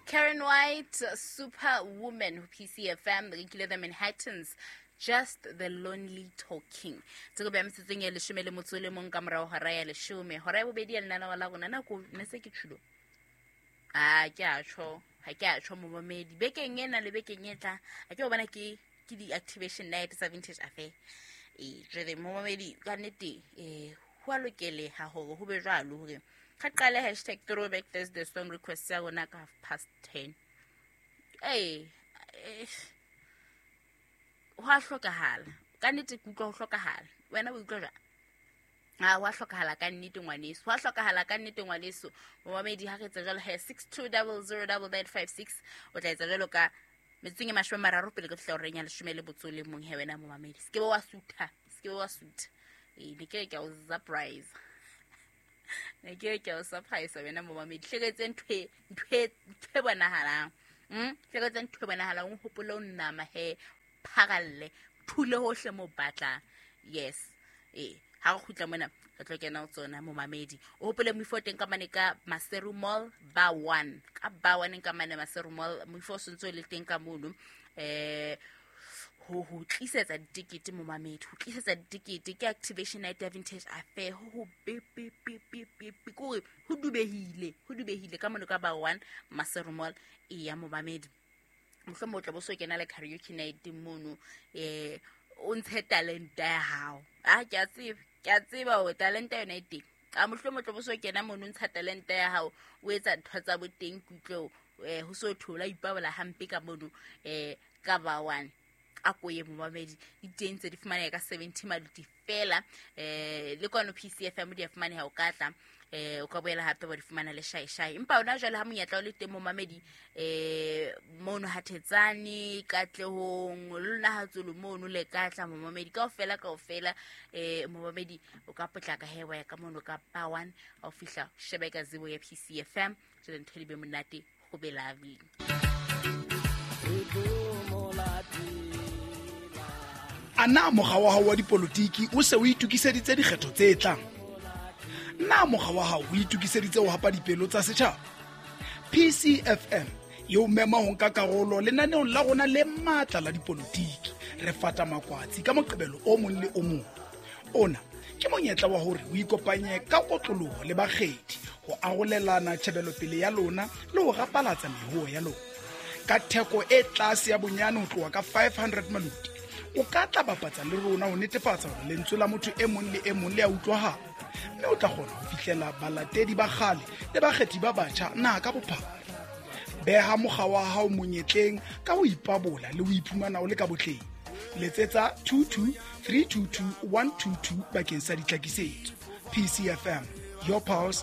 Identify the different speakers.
Speaker 1: Karen White, Superwoman, ho PCFM, re nkile The Manhattans, Just the Lonely Talking. Tse ko beya metsotsong ya leshome le motso o le mong ka morago hora ya leshome. Hora ya bobedi ya lenaneo la rona, nako ne se ke tšhulo. A ke a tjho, ha ke a tjho momamedi. Bekeng ena le bekeng e tla, a ke o bona ke ke di-activation night tsa Vintage Affair. Ee, jwale momamedi ka nnete ho a lokeleha hore ho be jwalo hore ga qale hashtag throwback Thursday song request ya rona ka 10:30. Ee, ho a hlokahala ka nnete, ke utlwa ho hlokahala. Wena o utlwa jwang? A wa hlokahala ka nnete ngwaneso, wa hlokahala ka nnete ngwaneso. Momamedi, ha re etsa jwalo he, 62009956, o tla etsa jwalo ka metsotsong e 30 pele ke fihla horeng ya leshome le botso le mong. He wena momamedi, se ke be wa sutha, se ke be wa sutha. Ee, ne ke re ke a o surprise, ne ke re ke a o surprise wena momamedi. Hleketse ntho e ntho e bonahalang, hleketse ntho e bonahalang. O hopole o nama he, pharalle, thule hohle mo batlang. Yes, ee, ha re kgutla mona re tlo kena ho tsona momamedi. O hopole moifo o teng ka mane ka Maseru Mall ba 1, ka ba 1 ka mane Maseru Mall. Moifo o sentse o le teng ka mono ho tlisetsa ditekete momamedi, ho tlisetsa ditekete ke activation night ya Vintage Affair. Ho be be be be be be kore ho dubehile, ho dubehile ka mono ka ba 1 Maseru Mall. E ya momamedi, mohlomong o tla bo so kena le karaoke night mono, o ntshe talenta ya hao. A ke a tseba, ke a tseba hore talenta yona e teng. A mohlomong o tla bo so kena mono, o ntsha talenta ya hao, o etsa ntho tsa boteng kutlwe ho so thola ipabola hampe ka mono ka ba 1. A ko ye momamedi, diteng tse di fumaneha ka 70 maluti fela, le kwano PCFM di a fumaneha. O ka tla, o ka boela hape wa di fumana le shae-shae. Empa ona jwale ha monyetla o le teng momamedi, mono ha Thetsane, Katlehong, le lona ha Tsolo mono le ka tla momamedi kaofela, kaofela. Momamedi, o ka potlaka he, wa ya ka mono ka ba 1, ha o fihla shebe ka zibo ya PCFM, jwale ntho di be monate, go be lovely.
Speaker 2: A na mokga wa hao wa dipolotiki o se o itokiseditse dikgetho tse tlang? Na mokga wa hao o itokiseditse ho hapa dipelo tsa setjhaba? PCFM e o mema ho nka karolo lenaneong la rona le matla la dipolotiki. Re fata makwatsi ka Moqebelo o mong le o mong. Ona ke monyetla wa hore o ikopanye ka kotloloho le bakgethi ho arolelana tjhebelopele ya lona le ho rapalatsa mehoo ya lona ka theko e tlase ya bonyane ho tloha ka 500 maluti. O ka tla bapatsa le rona ho netefatsa hore lentswe la motho e mong le e mong le a utlwahala, mme o tla kgona ho fihlela balatedi ba kgale le bakgethi ba batjha naha ka bophara. Beha mokga wa hao monyetleng ka ho ipabola le ho iphumana o le ka botleng. Letsetsa 22 322 122 bakeng sa ditlhakisetso. PCFM, your pulse.